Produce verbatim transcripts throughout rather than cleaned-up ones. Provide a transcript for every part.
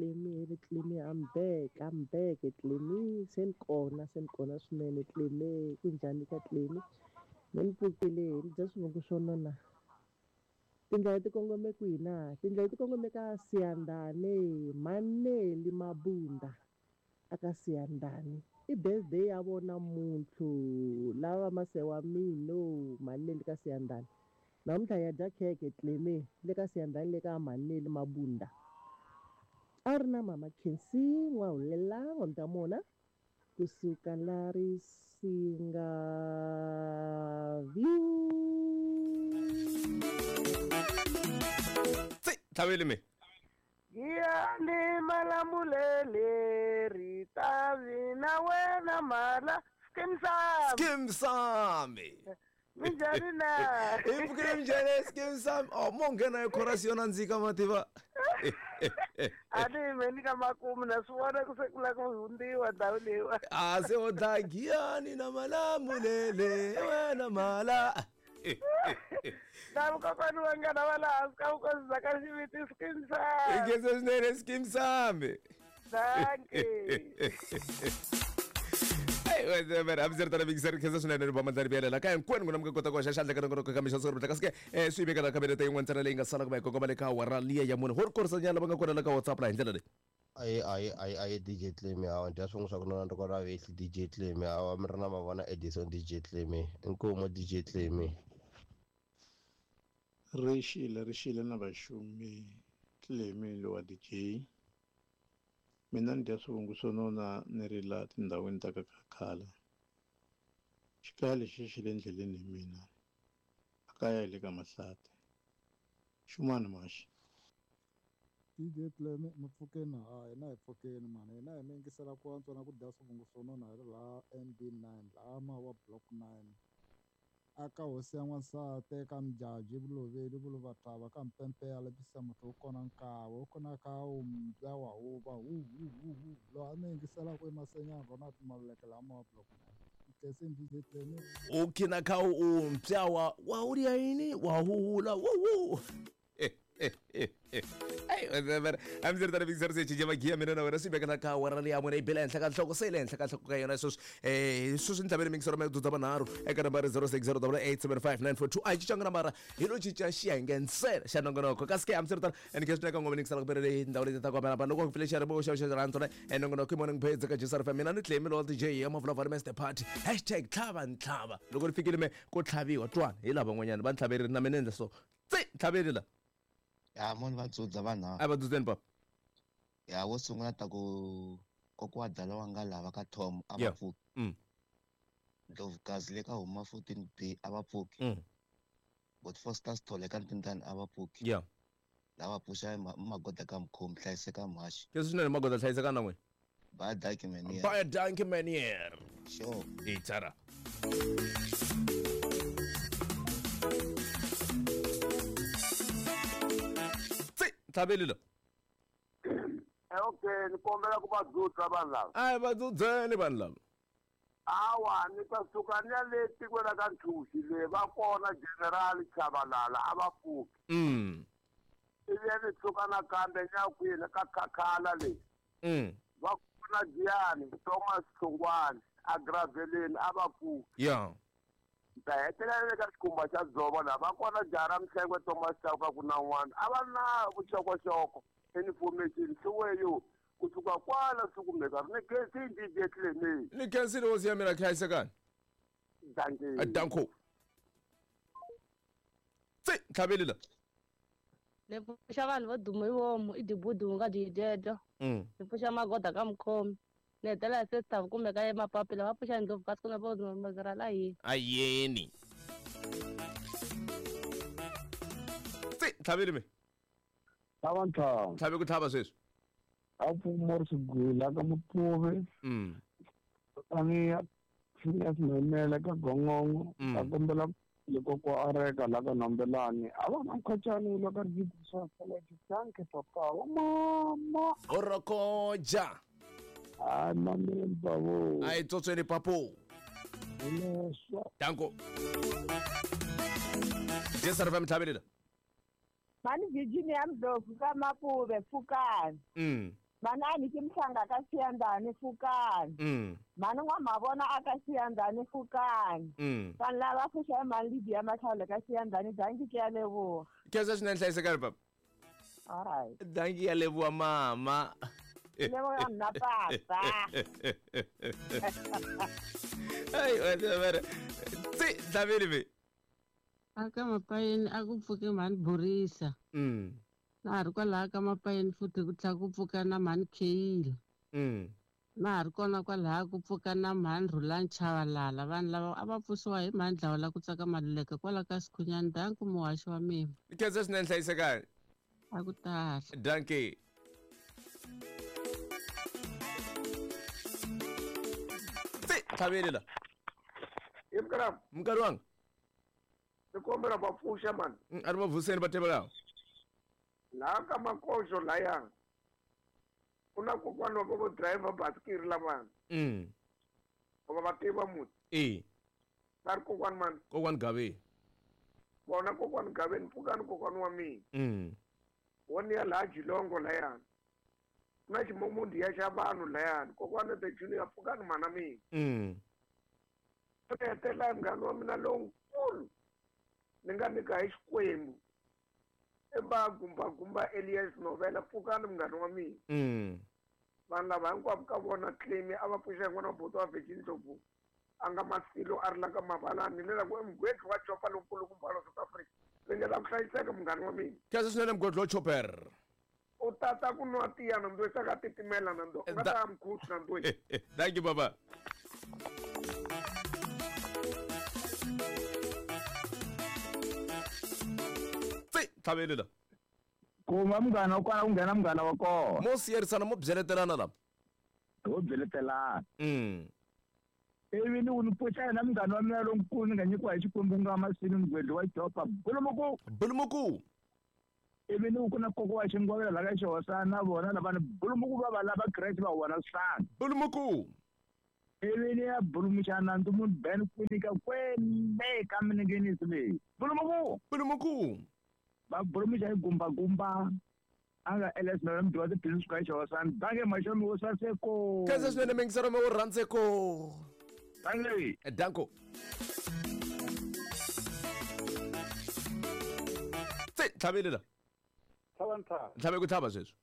Clemi hele Clemi I'm back I'm back Clemi se ni kona se ni kona swinene Clemi ku njhani ka Clemi me ni pfukile ni dya swivongo swo nona tindlela ti kongome kwihi na tindlela ti kongome ka Siyandane Maneli Mabunda aka Siyandane i birthday ya vona muntlhu lava masewa mino Maneli ka Siyandane namuntlha ya dya khekhe Clemi le ka Siyandane le ka Maneli Mabunda a ri na mama Khensi N'wahulela N'wamtamona kusuka la Risinga View. Tsi tlhaveli me Giyani malamulele ritavi na wena mala Skeem Saam Skeem Saam Minjhani na i pfukile minjhani Skeem Saam oh mo nghena hi chorus yo nandzika mativa a ni yimeni ka makumu na swi vona ku se ku lava ku hundziwa ndhawu leyiwa a se o dlaya Giyani na malamulele wena mala na vukokwani va ngana va laha hansi ka vukosi bya ka xiviti Skeem Saam i khensa swinene Skeem Saam dankie hambiseritana khensa swinene ri va biyelela ka hinkwenu n'wina mi nga kota ku hoxa xandla ka nongonoko ka mixo siku kasi ke swi yimeka la khabinete yin'wana ntsena leyi nga sala ku va hi kongoma le ka awara liya ya mune ho ri korisanyana lava nga kona la ka WhatsApp la hi ndlela leyi aye aye aye aye D J Clemi hawa dya swin'we swa ku nona ndoko ra vehli D J Clemi hawa mi ri na mavona Edison D J Clemi inkomu D J Clemi ri xile ri xile na vaxumi Clemi lowa D J mina ni dya swivungu swo nona ni ri la tindhawini ta ka khakhala xikaya lexi xi le ndleleni hi mina a kaya hi le ka Mahlati xin'wana maxi D J Clemi mi pfukeni ha hina hi pfukeni mani hina hi mi yingisela ku antswa na ku dya swivungu swo nona hi ri laha N B nine laha Mawa block nine aka hosi ya n'wansati eka Mjaji Vuloveli Vuluvatava ka Mpempe ya lepisa muti wu kona nkawe wu kona ka wu mbya wa huva hu hu hu hu loyi a mi yingiselaka emasenyana Ronald Maluleke laha Mawa block nine Nkenseni D J Clemi u khina kha u mpya wa wa u ri yini wa huhula wu wu hambiseritana big se cinca magiya mina na wena swi vekela ka awara leyi ya mune yi bela henhla ka nhloko se yi le henhla ka nhloko ka yona sweswi um sweswi ni tlhavele mingiselo ma dzudza manharhu eka nambara zero six zero double eight seven five nine four two a hi cincanga nambara hi lo cinca xiyenge ntsena xa nongonoko kasi ke hambiswiritano and ke swinene ka ngoma ningisela ku pele tindhawu leti ta ku hambanahambana loko ku pfile xiyarimo xa xa rhandzona and nongonoko i morning page ka J S R F M mina ni Clemi lowa D J ya Mavulavula Master Party hashtag tlhava ntlhava loko ri fikile me ku tlhaviwa twana hi lava van'wanyana va ntlhaverile na mina endla so tsi ntlhaveli la ya moni va dzudza vanhu a va dzudzeni papa ya wo sungula ta ku kokwa dala wa nga lava ka Tom a va pfuki mm Ndlovukazi le ka huma fourteen B a va pfuki mm but Foster Sithole ka Ntintani a va pfuki yeah lava pfuxa magoda ka mkhomi hlayiseka mhaxi leswi swinene magoda hlayiseka na n'wina bye dankie man bye dankie man here sure itara tlhaveli la okay ni kombela ku va dzudza vanhu lava a hi va dzudzeni vanhu lava awa ni ta suka ni ya le tikweni ra ka Nthuxi le va kona General Chabalala a va pfuki mm ivi ni suka nakambe ni ya kwini ka Khakhala le mm va kona Giyani Thomas Hlongwane a Graveleni a va pfuki yeah ta hetelela ka xikhumba xa dzovo laha va kona jaha ra Mhlengwe Thomas Chauka ku na n'wana a va na vuxokoxoko information swiweyo kusuka kwala swi kumeka ri ni khensini D J Clemi ni khensile hosi ya mina hlayisekani dankie danko tsi ntlhaveli la ni pfuxa vanhu vo duma hi vomu i dibudu nga dyidyedyo mm ni pfuxa magoda ka mukhomi ni hetelela se swi kumeka emapapila va pfuxa ndlopfu kasi ku na vo mazira la yini ayeni tsi ntlhaveli me tlhava ntlhava tlhave ku tlhava sweswi a pfumori swigwila ka Mupfuvi mm ani Phineas Maimela ka Gongongo a kombela loko ko areka la ka Nambelani a va na mkhachani la ka ri danke papa wa mama orokoja a mamele babo a yi tsotsweni papo leswa danko J S R F M tlhavelela Mani Virginia Ndlovu ka Mapuve Pfukani mm Manani ke mhlanga ka Siyandani Fukani. Mm. Mani n'wamavona aka Siyandani Fukani. Mm. Vanhu lava pfuxa mali Lydia Matlhalo ka Siyandani danki ke ya leboha. Khensa swinene hlayisekani papa. All right. Danki ya leboha mama. Leboha nna papa. Ai, wena tsi dlaveli ve. Aka mapayeni a ku pfuke mhani Borisa. Mm. Na ha ri kwalaha ka mapayeni futhi ku tlhela ku pfuka na mhani Kheyila. Mm. Na ha ri kona kwalaha ku pfuka na mhani Rhulani Chavalala. Vanhu lava a va pfuxiwa hi mhani Dlawula ku tsaka Maluleke kwala ka Sikhunyani. Danki muhaxi wa mina. Khensa swinene hlayisekani. A ku tala. Danki. Tsi tlhaveli la. Yemkara. Mukari wanga. Ni kombela va pfuxa mani. A ri va vuseni va tivela. Laha ka makoxo laya ku na kokwana wa vo driver basikiri lavana. Mm. Va va tiva muti. E. Va ri kokwana mani. Kokwana Gaveni. Vona kokwana Gaveni pfukani kokwana wa mina. Mm. Wona ya laha Jilongo layani. Ku na ximomundi ya xa vanhu layani. Kokwana the junior pfukani mana mina. Mm. Ku hetelela munghana wa mina lonkulu ni nga nyika hi Xikwembu. Eba gumba gumba Elias Novela pfukani munghana wa mina. Mm. Vanhu lava hinkwavo ka vona claim a va pfuxa n'wana wa buti wa Virgin Ndlovu a nga masilo a ri la ka mavalani le la ku emugwetli wa chopa lonkulukumba wa South Africa. Ringeta ku hlayiseka munghana wa mina. Khensa swinene mugwetli wa chopper. U tata ku nwa tiya na ndo saka titimela na ndo. U nga ta mkhusi na ndo. Thank you baba. Tlhaveli la. Kuma munghana wa kona ku nghena munghana wa kona. Mo siyerisana mo byeletelana la. Ho byeletelana. Mm. Ivi ni ku ni pfuxa yena munghana wa mina lonkulu ni nga nyikiwa hi Xikwembu ku nga Masini mugwedli wa Jopa Bulumuku. Bulumuku. Ivi ni ku na koko wa Xingwavela la ka Xihosana na vona lavani Bulumuku va va lava Kreste va vona swihlanga. Bulumuku. Ivi ni ya bulumuxa nandzu munhu Ben Kwinika kwele ka minengenisi leyi. Bulumuku. Bulumuku. Va bulumuxa hi gumbagumba a nga L S Novela mudyi wa tibusiness ka Xihosana. Danke maxomi wo saseko. Khensa swinene mingisero me wo rhandzeko. Danke. Danko. Tsi tlhaveli la. Tlhava ntlhava. Ntlhava ku tlhava sweswi.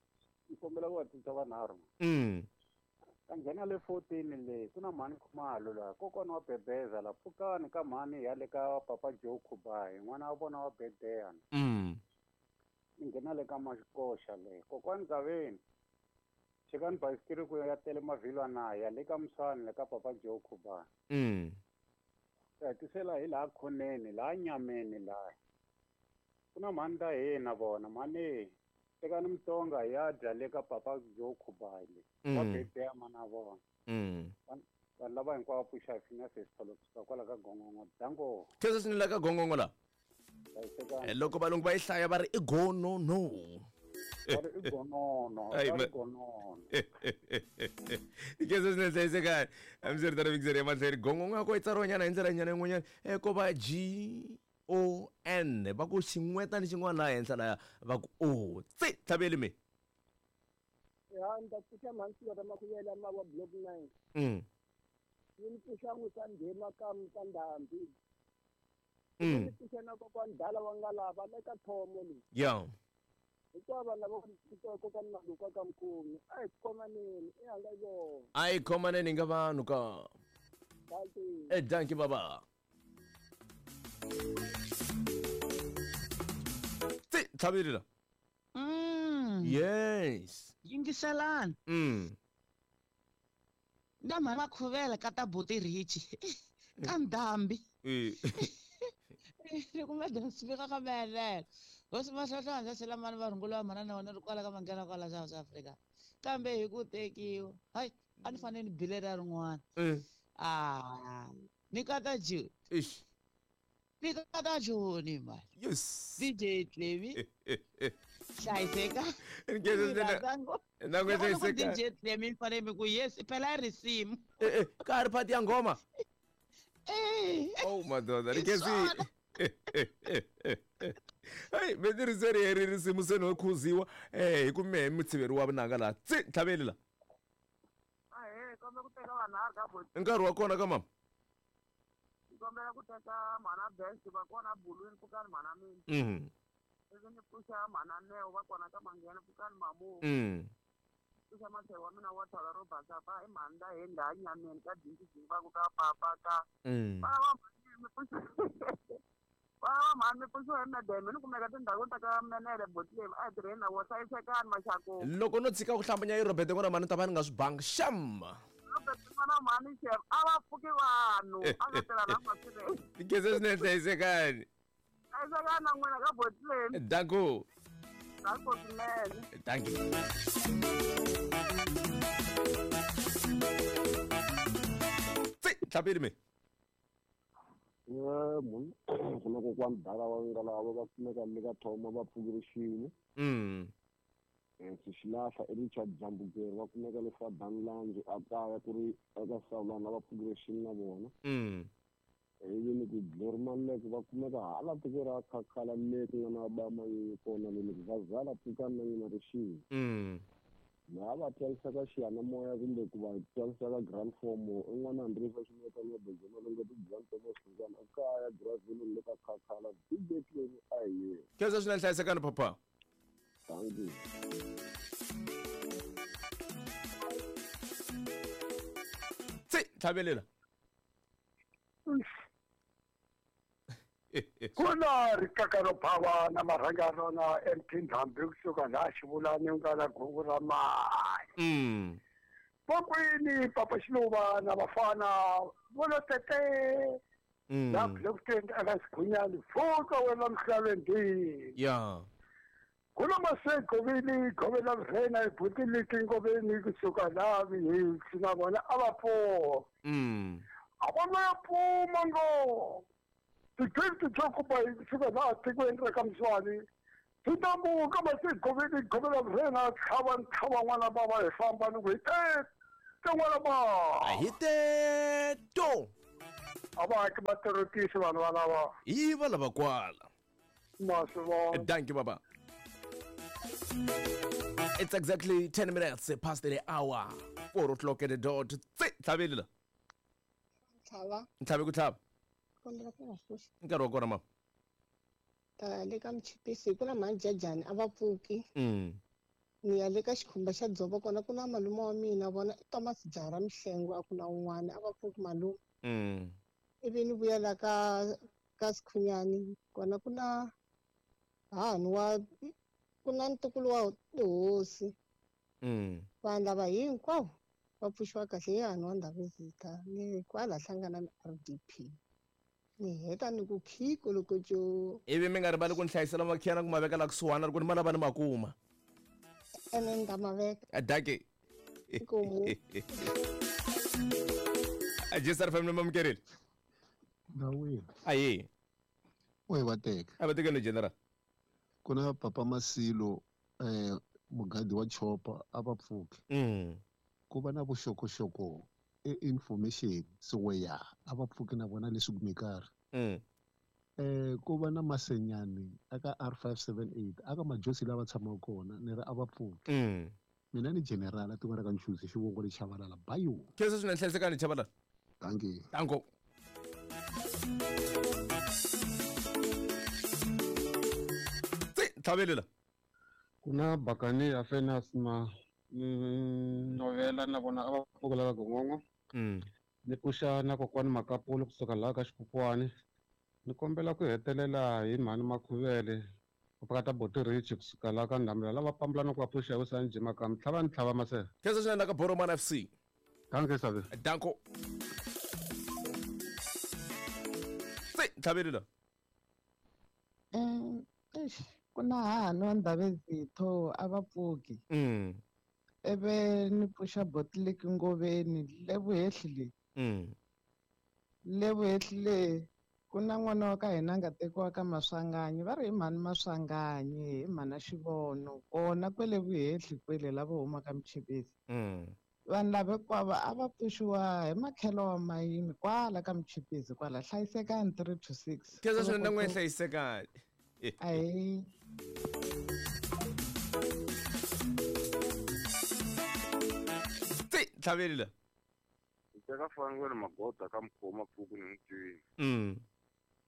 Ni kombela ku va tisa vanharhu. Mm. Ka nghena le fourteen leyi ku na mhani Khumalo laha kokwana wa Bebeza la pfukani ka mhani ya le ka Papa Joe Khubayi n'wana wa vona wa Bedeya. Mm. Ni nghena le ka Maxikoxa leyi kokwani Gaveni chekani basikiri ku ya tele mavhilwa na ya le ka Muswani le ka Papa Joe Khubayi. Mm. Ta hetisela hi laha khoneni laha nyameni laha ku na mhani ta hina vona mhani tekani Mutsonga ya dya le ka Papa Joe Khubayi Mm. wa Bedeya mana vona. Mm. Vanhu lava hinkwavo pfuxa hi Phineas Sithole kusuka kwala ka Gongongo. Danko. Khensa swinene la ka Gongongo la. Loko valungu va yi hlaya va ri i gonono. Va ri i gonono. Ai, Va ri ma- gonono. Khensa swinene hlayisekani. Hambiswiritano mingiseri ya matlhari Gongongo ya ko yi tsariwa nyana hi ndlela nyana yin'wanyana eh, ko va G O N va ku xin'weta ni xin'wana laha henhla laya va ku O tsi tlhaveli me. Ya ni ta pfuxa mhani Siyora Makuyela ma wa block nine. Mm. Ni ni pfuxa n'wi Nghema ka ka Ndhambi. Mm. Ni pfuxa na kokwani Dala wa nga lava le ka Thomo leyi. Yeah. Hikuva vanhu lava va kokwani Maluka ka Mkhumi a hi khomaneni i hanga yona. A hi khomaneni nga vanhu ka. Danki. Eh danki baba. Tsi tlhaveli la. Mm. Yes. Yingiselani. Mm. Na mhani Makhuvela ka ta buti Richi ka Ndhambi. Eh. Ni kuma swi ka mehelela. Hosi Mahlonhla sela mani va rhungula manana wena ri kwala ka manghena kwala South Africa. Kambe hi ku tekiwa. Hayi, a ni fanele ni bile ra rin'wana. Eh. Ah, ni kata June. Ish. Ni kata June mali. Yes. D J Clemi. Hlayiseka. Ngeke Na na ku D J Clemi ni fanele mi ku yes, phela i risimu. Eh eh, ka ha ri phati ya nghoma. Eh. Oh madoda, Hi ni khensi. swona. Hayi me ri ri risimu se no khuziwa eh hi ku mehe mutshiveri wa vunanga laha tsi ntlhaveli la Ahee, kombela ku teka vanharhu ka boti. Nkarhi wa kona ka mama. Kombela ku teka mhana Best va kona Bulwini pfukani mhana mina. Mhm. Ivi ni pfuxa mhana Neo va kona ka Manghena pfukani mamu. Mm. Pfuxa matlhelo wa mina wa thala ro basa fa i mhani la heni laha nyameni ka dingi va ku ka papa ka. Mm. Vana va mhani mi pfuxa vana va mhani mi pfuxiwa hi medeme ni kumeka tindhawini ta ka Menele Botleni a hi tirheni na wo hlayisekani maxaku. Loko no tshika ku hlambanya yi Robert n'wana mhani ta va ni nga swi bangi xam. Robert n'wana mhani chef a va pfuki vanhu a nga tirha na masirheni. Tigeze swinene hlayisekani. Hlayisekani na n'wina ka Botleni. Danko. Danko swinene. Thank you. Tsi tlhaveli me. Munhu ku na kokwani dala va nga lava va kumeka le ka Thoma va pfukile xin'we. Mm. Xilahla i Richard Jambukeri va kumeka le Fadan Lounge a kaya ku ri eka Sawulana va pfukile xin'we na vona. Mm. Ivi ni ku Glory Maluleke va kumeka hala tiko ra Khakhala le ku nga na ba Manyunyu kona le ni ku vazala pfukani na n'wina ri xin'we. Mm. Laha va twarisaka xiyanimoya kumbe ku va twarisaka grand form i n'wana Andresa Xinetana Bejena Tibyani Thomas Hlungwana ekaya Graville le ka Khakhala D J Clemi a hi yena. Khensa swinene hlayisekani papa. Thank you. Tsi tlhavelela. Ku na rixaka ro phava na marhanga rona M T Ndhambi kusuka laha Xivulani ku nga na gungu ra mali. Mm. Vokwini Papa Xiluva na vafana vo lo tete Mm. laha Bloemfontein eka Xighunyani pfuka wena mihlaveni. Yeah. Ku na Masegovini Govela Vhena hi buti Ngoveni kusuka laha Vihitsi na vona a va pfuka. Mm. A va nga ya pfuma ngo. Ti-twenty to kuba kusuka laha tikweni ra ka Mswani ti tambuka Masegovini Govela Vhena tlhava ntlhava n'wana bava hi famba ni ku hi tete n'wana bava. A hi teto. A va haki vatirhotisi vanhu valava. Hi va lava kwala. Ma swi vona. Thank you baba. It's exactly ten minutes past the hour. Four o'clock at the dot. Tsi tlhaveli la. Tlhava. Ntlhavi ku tlhava. Kombela ku nga pfuxi. Nkarhi wa kona mama. Ta le ka Mchipisi ku na mhani Jajani a va pfuki. Mm. Ni ya le ka xikhumba xa dzovo kona ku na malume wa mina vona i Thomas Jara Mihlengo a ku na un'wana a va pfuki malume. Mm. Ivi ni vuyela ka ka Sikhunyani kona ku na hahani wa ku na ntukulu wa tihosi. Mm. Vanhu lava hinkwavo va pfuxiwa kahle hi hahani wa Ndhavezitha ni kwala hlangana na R D P. Ni heta ni ku khiko loko co. Ivi mi nga rivali ku ni hlayisela makhiyana ku ma veka la kusuhana loko ni ma lava ni ma kuma. Ene ni ta ma veka. Daki. Inkomu. Jesar family mamukerile. Ndawini. Ayi. We va teka. A va teka ni general. Ku na Papa Masilo eh mugadi wa chopa a va pfuki. Mm. Ku va na vuxokoxoko e information so we ya a va pfuki na vona leswi kumekaka. Mm. Eh ku va na Masenyani aka R five seven eight aka majosi lava tshamaka kona ni ri a va pfuki. Mm. Mina ni general a tiko ra ka Nchuzi xivongo le Chavalala bayo. Khensa swinene hlayisekani Chavalala. Thank you. Danko. Tsi tlhavelela. Ku na Bakani ya Fenas ma novela na vona a va pfuka la ka Gongongo. Mm. Ni pfuxa na kokwani Makapolo kusuka laha ka Xikukwani. Ni kombela ku hetelela hi mhani Makhuvele ku pakata Boti Rich kusuka laha ka Ndhamela lava pambula na ku va pfuxa hi Usani Jima ka Tlhava ni tlhava maseve. Khensa swinene ka Boromana F C. Danke sabe. Danko. Tsi tlhavelela. Eh, eish, ku na hahani wa Ndhavezitho a va pfuki. Mm. Eve ni pfuxa Botlek Ngoveni le vuhehli le. Mm. Le vuhehli le ku na n'wana wa ka hina a nga tekiwa ka Maswanganyi va ri hi mhani Maswanganyi hi mhana Xivono kona kwele vuhehli kwele lava humaka Mchipisi. Mm. Vanhu lava hinkwavo a va pfuxiwa hi makhelo wa mayini kwala ka Mchipisi kwala hlayisekani three to six. Khensa swinene na n'wina hlayisekani. Ahee. Tsi tlhaveli la. Teka fangweni magoda ka mkhoma pfuku ni mutwini. Mm.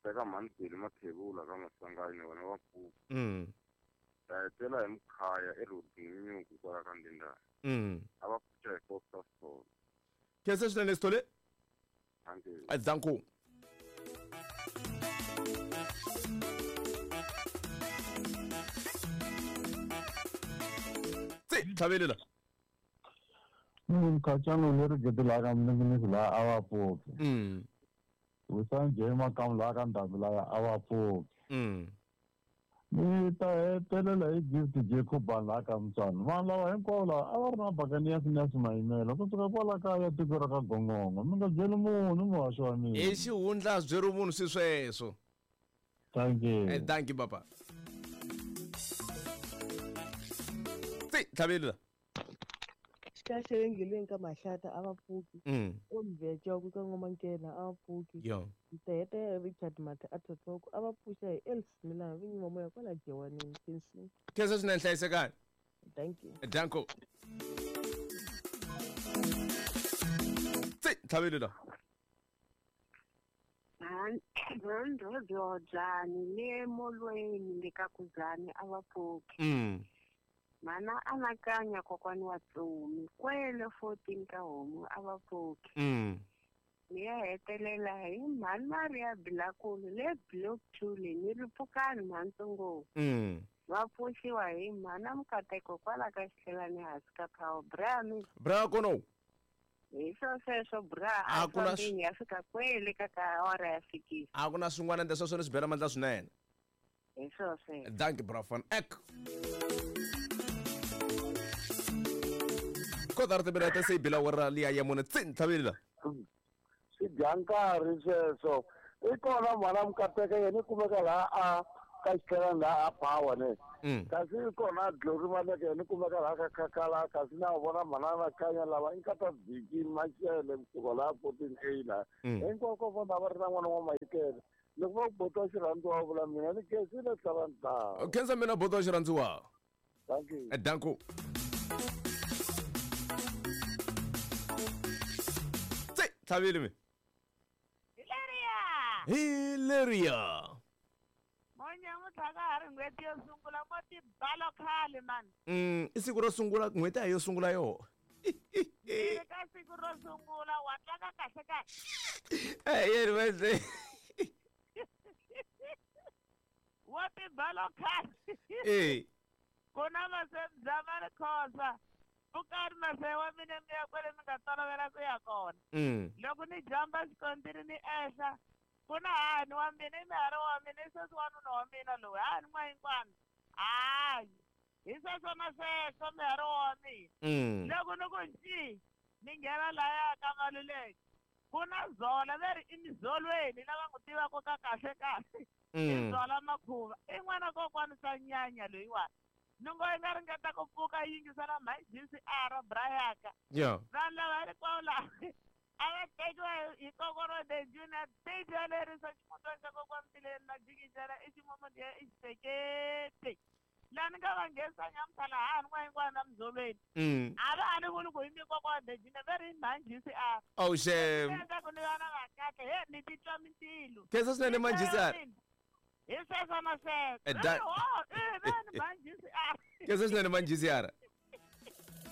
Teka mhandzeli mathebula ka masangani wena wa pfuku. Mm. Ta hetela hi mkhaya erodini nyuku kwala ka ndindani. Mm. A va pfuxa hi Foster Stone. Khensa swinene Sithole. Thank you. Danko. Tsi tlhaveli la. Mkhatsano leri gedelaka mninginisi laha a va pfuki. Mm. Vusanjhe makamu laha ka ndhambi laya a va pfuki. Mm. Ni ta hetelela hi Gift Jacob laha ka Mutswana. Vanhu lava hinkwavo lava a va ri na Buccaneers na Simayimela kusuka kwala kaya tiko ra ka Gongongo. Mi nga byeli munhu muhaxi wa mina. I xihundla byeri munhu swi sweswo. Thank you. Eh, thank you papa. Tsi tlhaveli la. Xikahle ka mahlata a va pfuki. Mm. Omveco ka N'wamakena a va pfuki. Yo. Ntete Richard Mathe a Thothoko a va pfuxa hi Els Milan vinyi wa moya kwala Jewanini Khensi. Khensa swinene hlayisekani. Thank you. Danko. Tsi tlhaveli la. Rhodyani le molweni le ka Kuzani a va pfuki. Mm. Mana anakanya kokwani wa Tsomi kwele fourteen ka homu a va pfuki. Mm. Ni ya hetelela hi mhani Maria Bilakulu le block two le ni ri pfukani mhantsongo. Mm. Va pfuxiwa hi mhana Mukateko kwala ka xihlelani hansi ka Power bra mi. Bra kono. Hi swo sweswo bra A a ku na fambeni ya fika kwele ka ka awara ya sikisi. A ku na swin'wana ndle sweswo ni swi bela mandla swinene. Hi swo sweswo. Dankie bra van ek. Kotara timinete se yi bila awara liya ya mune tsi tlhaveli la. Swi dya nkarhi sweswo. I kona mhana Mukateka yena i kumeka laha a ka xitlhelani laha a Power ne. Mm. Kasi i kona Glory Maleke yena i kumeka laha ka Khakhala kasi na vona mhana Anakanya lava i nkata Biki Mashele kusuka laha fourteen A laha. Mm. Hinkwako vanhu a va ri na n'wana wa Mayikele. Loko va ku boti wa xirhandziwa vula mina ni khensile tlhava Khensa mina boti wa xirhandziwa. Thank you. Danko. Tsi tlhaveli mi. Hileria. Hileria. Monyamuntlha ka ha ri n'hweti yo sungula mo tibalo khale mani. Mm, i siku ro sungula n'hweti a hi yo sungula yoho. Ni ri ka siku ro sungula wa tlanga kahle kahle. Eh, yeni va Wa tibalo khale. Eh. Ku na masebya ma ri khosa. Pfukani mase wa mina mi ya kwale mi nga tolovela ku ya kona. Mm. Loko ni jamba xikontiri ni ehla ku na hani wa mina i mihari wa mina i sweswi wanuna wa mina loyi hani n'wayinkwana hayi hi sweswo na sweswo mihari wa mina. Mm. Loko ni ku nci ni nghena laya ka Maluleke ku na Zola ve ri i mizolweni lava n'wi tivaka ka kahle kahle. I Mm. Zola Makhuva i n'wana kokwani swa nyanya loyiwani. Ni ngo yi nga ringeta ku pfuka yi yingisela G C R Brayaka. Yeah. Vanhu lava hinkwavo lava a va tekiwa hi kokwana the junior D J lerisa ximutwana xa kokwani Tileni na jikijela i ximumudiya i xisekete. Laha ni nga va nghenisa nyamuntlha lahani n'wayinkwana na muzolweni. Mm. A va ha ni vuli ku i mi kokwana the junior ve ri i mhani G C R. Oh shame. Endla ku ni va na vakahle he ni titwa mintilo. Khensa swinene mhani G C R. Hi sweswo na sweswo. Eh, da- Oh, eh, ve ni mhani G C R. Khensa swinene mhani G C R.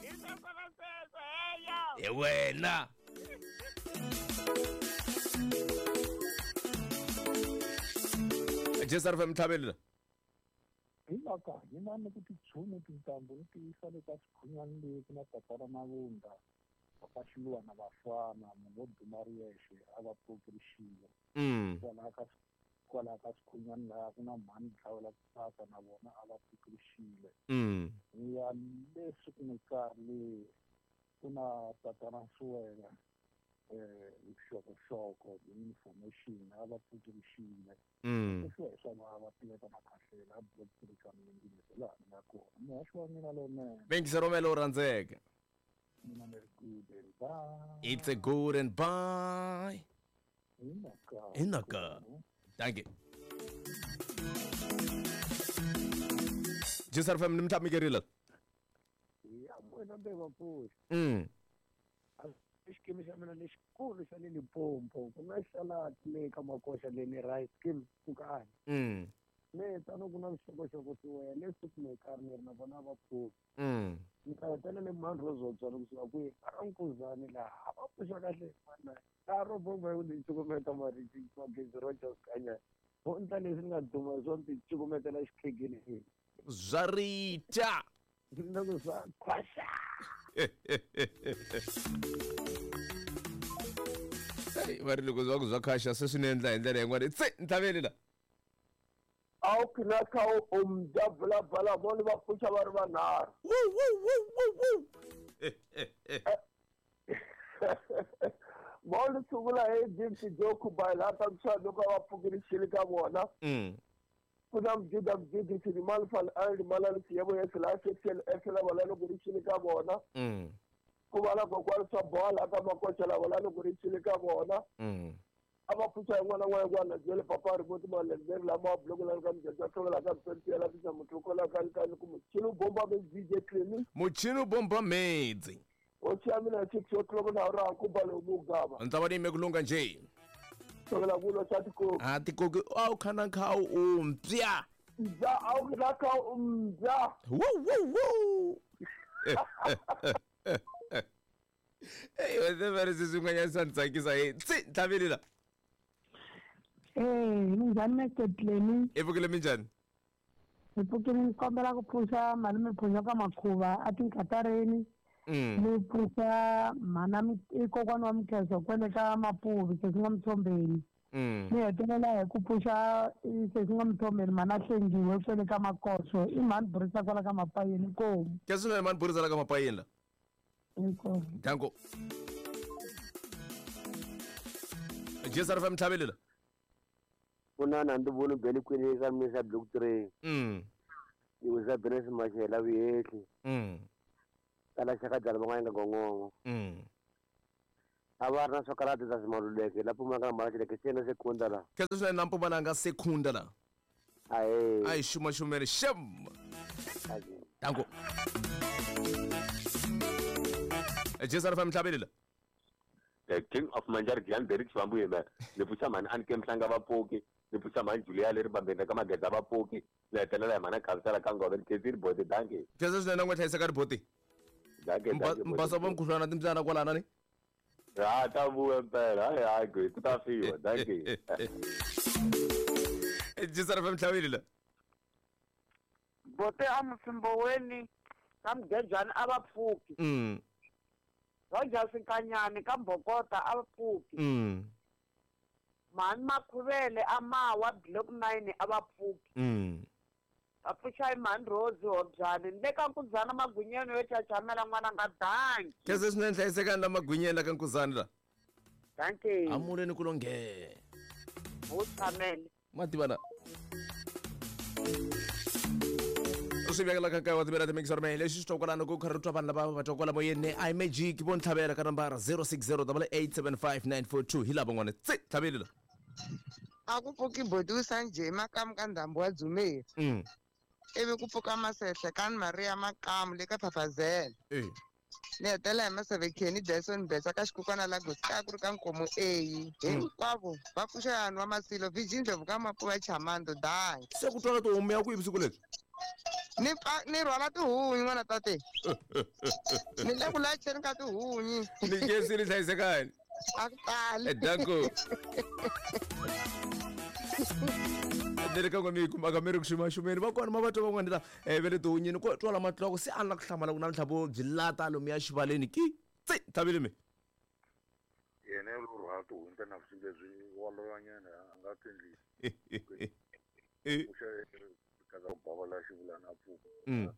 Hi sweswo na sweswo heyo. Hi wena. J S R F M tlhaveli la. Hi mhaka hina ni ku tichumu tintambu ni tiyisa le ka swikhunyani le ku na tatana Mavunda papa Xiluva na vafana munhu wo duma ri yexe a va pfuki rixile. Mm. Kwalaha ka kwalaha ka swikhunyani laha ku na mhani Dlawela ku tsaka na vona a va pfuki rixile. Mm. Ni ya le Sukunikar le ku na tatana Nsuwela eh vuxokoxoko information a va pfuki rixile. Mm. Leswi hi swona va tiveka makhahlela a block three ka mingingiso laha ni nga kona muhaxi wa mina lowunene. Bengisa romela u rhandzeke. Mina ni ri good and bye. It's a good and bye. Hi mhaka. Hi mhaka. Thank you. J S R F M ni mtlhamikerile. Ya wena mbe vapfuxi. Mm. Xikimi xa mina lexikulu xa le Limpopo ku nga xalati le ka makoxa le ni rice scheme pfukani. Mm. Me tano ku na vuxokoxoko swi le supermarket ni ri na vona va pfuka. Mm. Ni ta hetelela mani ro zotswana kusuka kwihi a nkuzani laha a va pfuxa kahle mana a ro bomba hi ku ti cukumeta mariti magezi Rogers kanya ho ndla leswi ni nga duma hi swona ti cukumetela xikhegeni Zwa rita. loko swa khwaxa. Hey, va ri loko zwa ku zwa khasha se swi ni endla hi ndlela yin'wana tse ntlhaveli la. A wu khinaka u mdabulabala vona va pfuxa va ri vanharhu. Vona sungula hi James Joku by laha ta loko va pfukile xili ka vona. Mm. Ku na Mjuda Mjudi Silimani Fal Ali Malali Siyebo Yesela Sexel Esela wala loko ri xili ka vona. Mm. Ku va na kokwani swa bola ka makoxa lava la loko ri xili ka vona. Mm. A va pfuxa yin'wana na yin'wana byele papa ri voti malembe lama bloko la ka mujadza tlhela ka msentela la muthu kola ka ka ku muchini bomba me D J Clemi. Muchini bomba medzi. O xa mina six o'clock na ra ku ba lo mugava. Ntsa ni me kulunga nje. Tlhela ku lo xa tikoki. A tikoki a wu khana kha u mpya. Mbya a wu khana kha u mbya. Wu wu wu. Hey, wena va ri swin'wanyana swa ni tsakisa hi tsi ntlhaveli la. Eh, minjhani Mister Clemi? I pfukile minjhani? Hi pfukile ni kombela ku pfuxa malume Phunyo ka Makhuva a Tinkatareni. Mm. Ni pfuxa mhana i kokwana wa Mukheso kwele ka Mapuvi sesi nga Mthombeni. Mm. Ni hetelela hi ku pfuxa sesi nga Mthombeni mhana Hlengiwe kwele ka Makoxo i mhani Burisa kwala ka Mapayeni inkomu. Ke swinene mhani Burisa la ka Mapayeni la. Inkomu. Danko. J S R F M ntlhaveli la. Kunana ndi voni bele kwini ka misa block three. Mm. Iwisa Benes Mashela vuyehli. Mm. Kala xaka dlala van'wana nga gongongo. Mm. A va ri na swakarati ta simaluleke la Mpumalanga Malachileke sena sekunda la. Ke swinene na Mpumalanga sekunda la. Ahe. Ayi xuma xumele xem. Danko. J S R F M ntlhaveli la. The King of Manjari Gyan Derek Swambu yena ni pfuxa mhani Anke Mhlanga vapfuki ni pfuxa mhani Julia leri bambeni ka Mageza vapfuki ni hetelela hi mhana Khavisela ka Ngove ni khensile boti danke. Khensa swinene n'we hlayiseka riboti. Danke danke. Mbasa va mukhuhlwana timbyana kwalana ni. Ha ta vuya mpela hayi hayi ku ku ta fiwa danke. J S R F M ntlhaveli la. Bote a Mfimboweni ka Mgejani a va pfuki. Mm. Rogers Nkanyani ka Mbokota a va pfuki. Mm. Mhani Makhuvele a Mawa block nine a va pfuki. Mm. Va pfuxa hi mhani Rose Hobyani ni le ka Nkuzana Magwinyeni yo chachamela n'wana nga danki. Khensa swinene hlayisekani la Magwinyeni la ka Nkuzana la. Danki. Amuleni ku longhe. Wu tshamele. Ma tiva na. Swi vekela ka nkarhi wa timela timikisaro mehe lexi swi twa kwalano ku kha ri twa vanhu lava va twa kwala moyeni i magic vo ntlhavela ka nambara zero six zero eight eight seven five nine four two hi lava n'wana tse ntlhaveli la. A ku pfuki boti njhe makamu ka ndhambi wa Dzumeri. Mm. Ivi ku pfuka Masehle ka Maria Makamu le ka Phafazela. Eh. Ni hetelela hi Maseve Kenny Dyson Betsa ka xikukwana la Gosi ku ri ka Nkomo A. Hinkwavo va pfuxa yani wa Masilo Virgin Ndlovu ka Mapuva Chamando danki. Se ku twala tihomu ya kwihi vusiku lebyi? Ni pfa ni rhwala tihunyi n'wana tate. Ni le ku lacheni ka tihunyi. Ni khensile hlayisekani. A ku tali. Danko. Ni ka n'we mi kumaka mi ri ku xumaxumeni va kona ma va twa van'wana la eh ve le tihunyini ko twala matloko se a ni la ku hlamala ku namuntlha vo byi lata lomuya xivaleni ki tse ntlhaveli mi. Yena lo rhwala tihunyi ta navusiku lebyi wa lovanyana a nga tendli. Pfuxa kaza ku bava la xivulana a pfuka. Mm.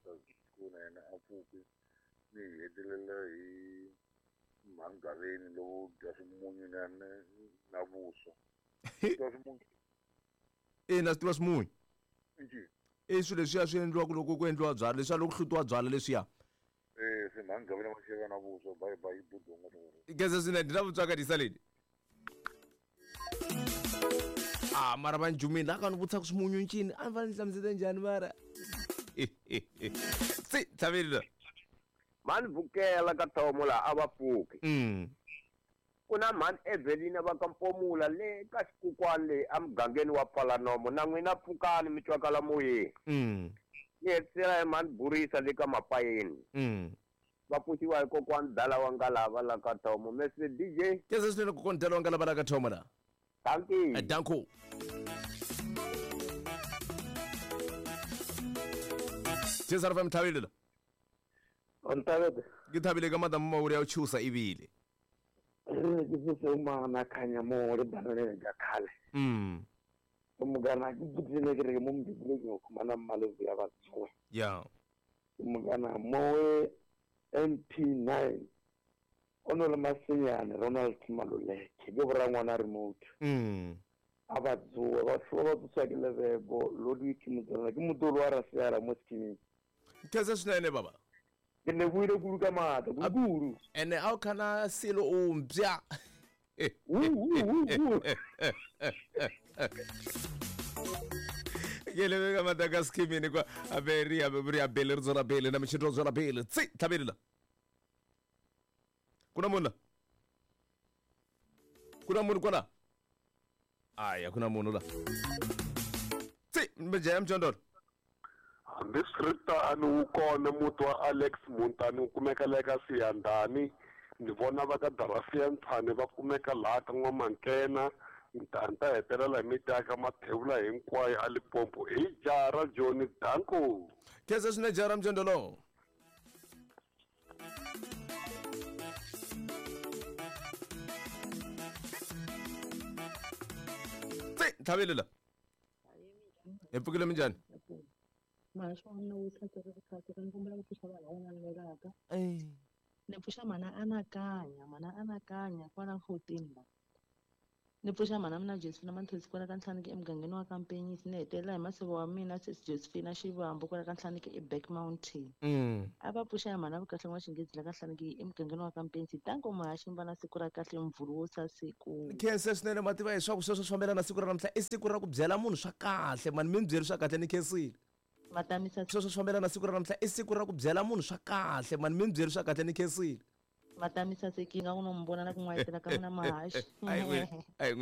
Ku na yena a pfuki ni hetelela hi mhangaveni lowo dya swimunyu na na vuswa. Dya swimunyu. Ina swi tiva swimunyu. Njhe. I swilo leswiya swi endliwaka loko ku endliwa byala leswiya loko ku hlutiwa byala leswiya. Eh se mhangaveni va xeva na vuswa bye bye budonga swona. Khensa swinene ndi na vutswaka disaleni. Ah mara va njumini la ka ni vutisa ku swimunyu ncini a ni fanele ni hlamusete njhani mara. Tsi thavile. Mani vukela ka thomo la a va pfuki. Mm. Ku na mhani Evelina va ka Mpomula le ka xikukwani le emugangeni wa Phalanomo na n'wina pfukani mi twakala moyeni. Mm. Ni hetisela hi mhani Burisa le ka Mapayeni. Mm. Va pfuxiwa hi kokwani Dala wa Ngalava la ka Thomo. Mister D J. Keza swinene kokwani Dala wa Ngalava la ka Thomo la. Thank you. Danko. Cesar F M thabile la. Onthabile. Ke thabile ka madam Mauri ya chusa ibile. Re ke se o mana khanya mo re banele ka khale. Mm. O mugana ke butsile ke re mo mbibile ke khumana mmalo ya ba tsoe. Yeah. O mugana mo M P nine ono le Masenyane Ronald Maluleke ke bora ngwana remote. Mm. Aba tsoe ba tsoe ba tsoa ke lebego Ludwig Motswana ke motolo wa Raseara mo scheme. Keza swinene baba. Ke le buile kudu ka matla kudu. Ene a o kana selo o mpya. Ke le ka matla ka scheme kwa aberi aberi abele re tswela pele na motšhito tswela pele. Tsi thabile la. Kuna monna. Kuna munhu kwala. Aya kuna munhu la. Tsi mbeje mjondolo. Hambiswiritano wu kona muti wa Alex Muntani wu kumeka le ka Siyandhani ni vona va ka Darafiya Ntshani va kumeka laha ka N'wamankena ni ta hetelela hi miti ya ka Mathebula hinkwayo a Limpopo hi jara Johnny Danko. Keza swinene jara mjondolo. Tsi thabile la. Hi pfukile minjhani? Maswona wu tlhakela kahle ka nkombela ku pfuxa vanhu van'wana velaka. Ni pfuxa mhana anakanya mhana anakanya kwala fourteen la. Ni pfuxa mhana mina Josephina Manthosi kwala ka Nhlaniki emugangeni wa ka Mpenyisi ni hetelela hi masivo wa mina sesi Josephina Xivambu kwala ka Nhlaniki eBack Mountain. A va pfuxa hi mhana Vukahle wa Xinghezi la ka Nhlaniki emugangeni wa ka Mpenyisi tanko muhaxi va na siku ra kahle mvhulu wo sasiku. Khensa swinene mativa hi swa ku sweswo swi fambelana na siku ra namuntlha i siku ra ku byela munhu swa kahle mani mi ni byeli swa kahle ni khensile. Matamisa sweswo swi fambelana na siku ra namuntlha i siku ra ku byela munhu swa kahle mani mi ni byeli swa kahle ni khensile. Matamisa sekinga ku no mi vona na ku n'wayitela ka mina mahaxi. Ayi n'wi ayi n'wi.